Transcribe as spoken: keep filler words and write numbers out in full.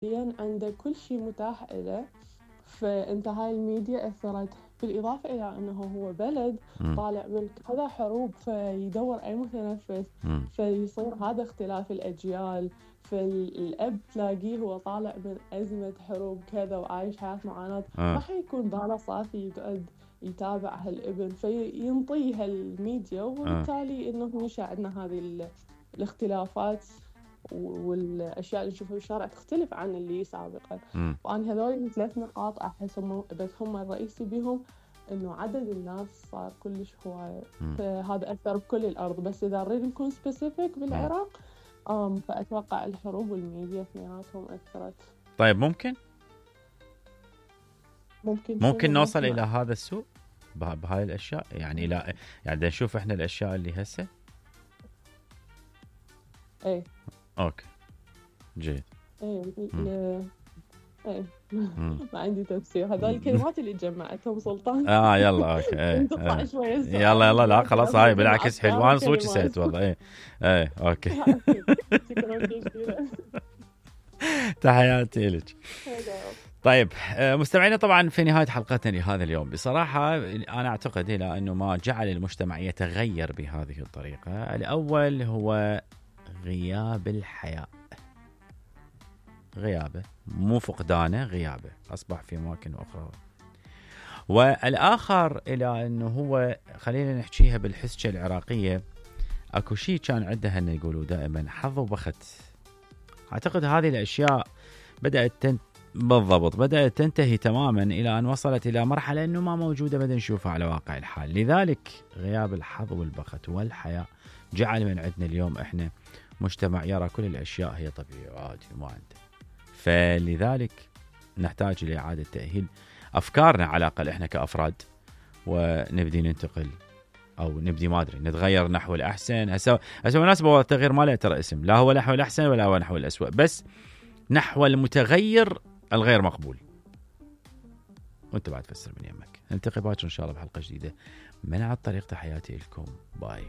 حاليا عنده كل شيء متاح له، فانت هاي الميديا اثرت. بالاضافه الى انه هو بلد م. طالع من كذا حروب، فيدور اي متنفس، م. فيصير هذا اختلاف الاجيال. فالاب تلاقيه هو طالع من ازمه حروب كذا وعايش حياه معاناه، آه. ما حيكون باله صافي يقعد يتابع هالابن، فينطيه هالميديا، وبالتالي انه ينشا عندنا هذه الاختلافات والاشياء اللي نشوفها بالشارع تختلف عن اللي سابقا. م. وانا هذول ثلاث نقاط احس هم بس هم الرئيسي بهم، انه عدد الناس صار كلش هوايه، فهذا اثر بكل الارض. بس اذا نريد نكون سبيسيفيك بالعراق، ام فاتوقع الحروب والميديا اثنيناتهم اثرت. طيب ممكن ممكن ممكن نوصل الى هذا السوء بهاي الاشياء، يعني لا يعني نشوف احنا الاشياء اللي هسه. ايه اوكي جيد. ايه ايه ما عندي تفسير، هذول الكلمات اللي جمعتهم سلطان. اه يلا اوكي ايه. تطلع شويه يلا يلا لا خلاص هاي بالعكس حلوان صوت سيت والله. ايه ايه اوكي. تحياتي لك. طيب مستمعينا، طبعا في نهاية حلقتنا لهذا اليوم بصراحة أنا أعتقد إلى أنه ما جعل المجتمع يتغير بهذه الطريقة. الأول هو غياب الحياء، غيابه مو فقدانه، غيابه أصبح في أماكن أخرى. والآخر إلى أنه هو خلينا نحكيها بالحسكة العراقية، أكو شيء كان عندها أن يقولوا دائما حظ وبخت. أعتقد هذه الأشياء بدأت تن... بالضبط بدأت تنتهي تماما إلى أن وصلت إلى مرحلة أنه ما موجودة بدنا نشوفها على واقع الحال. لذلك غياب الحظ والبخت والحياة جعل من عندنا اليوم إحنا مجتمع يرى كل الأشياء هي طبيعية وعادي وما عنده. فلذلك نحتاج إلى إعادة تأهيل أفكارنا على الأقل إحنا كأفراد، ونبدي ننتقل أو نبدي ما أدري نتغير نحو الأحسن. هسه هسه مناسبة التغيير ما له ترى اسم، لا هو نحو الأحسن ولا هو نحو الأسوأ، بس نحو المتغير الغير مقبول. وانت بعد فسر من يمك. نلتقي باكر إن شاء الله بحلقة جديدة من على الطريق. تحياتي لكم، باي.